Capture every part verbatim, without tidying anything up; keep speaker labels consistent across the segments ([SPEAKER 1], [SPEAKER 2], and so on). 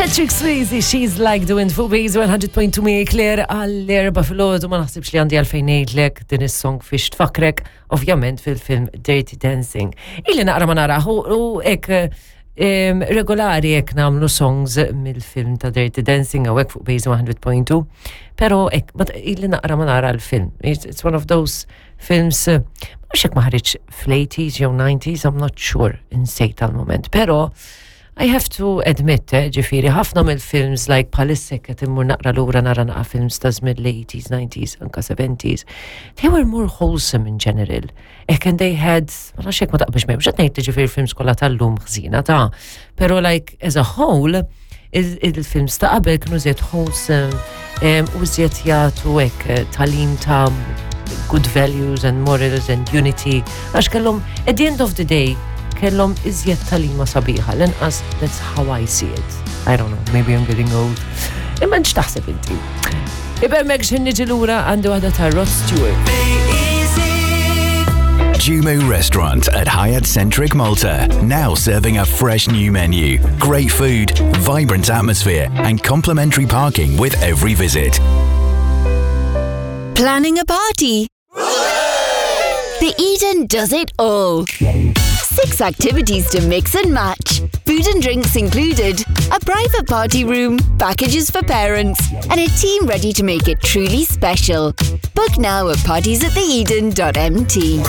[SPEAKER 1] Patrick Swayze, She's Like the Wind fuq Base one hundred point two mi Claire għall-erbgħa filgħodu. Ma naħsibx li għandi għalfejn ngħidlek din is-song fiex tfakkrek, ovvjament fil-film Dirty Dancing. Illi naqra ma naraħ u hekk em, regolari hekk nagħmlu songs mill-film ta' Dirty Dancing hawnhekk fuq Base one hundred point two, pero hekk ma illi naqra ma nara l-film. It's, it's one of those films, eh, mhux hekk ma ħariġ fl-eighties jew nineties, I'm not sure, insejt tal-moment, pero I have to admit, eh, ġifieri, ħafna mill-films like bħalissa qed immur naqra lura nara naqa films ta' żmien l-eighties, nineties, anka seventies, they were more wholesome in general. Ek and they had, ma nafx hekk ma taqbilx miegħi, mhux qed ngħid li ġifieri films kollha tal-lum ħżiena ta' pero like as a whole, il- il-films ta' qabel kienu żjed wholesome em, u żjed jagħtu hekk eh, tagħlim ta' good values and morals and unity. Għax kellhom, at the end of the day, kellhom iżjed tagħlima sabiħa. L-inqas, that's how I see it. I don't know, maybe I'm getting old. Imma x'taħseb inti? Ibemmek x'ħin niġi lura għandi waħda ta' Rod Stewart.
[SPEAKER 2] Jumu Restaurant at Hyatt Centric Malta, now serving a fresh new menu, great food, vibrant atmosphere, and complimentary parking with every visit.
[SPEAKER 3] Planning a party? The Eden does it all. Six activities to mix and match, food and drinks included, a private party room, packages for parents, and a team ready to make it truly special. Book now at parties at the eden dot M T.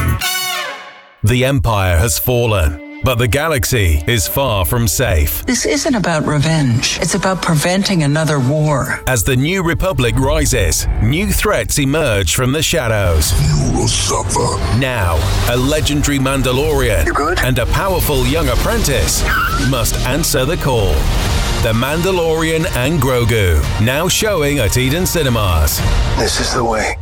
[SPEAKER 4] The Empire has fallen, but the galaxy is far from safe.
[SPEAKER 5] This isn't about revenge. It's about preventing another war.
[SPEAKER 4] As the New Republic rises, new threats emerge from the shadows.
[SPEAKER 6] You will suffer.
[SPEAKER 4] Now, a legendary Mandalorian and a powerful young apprentice must answer the call. The Mandalorian and Grogu, now showing at Eden Cinemas.
[SPEAKER 6] This is the way.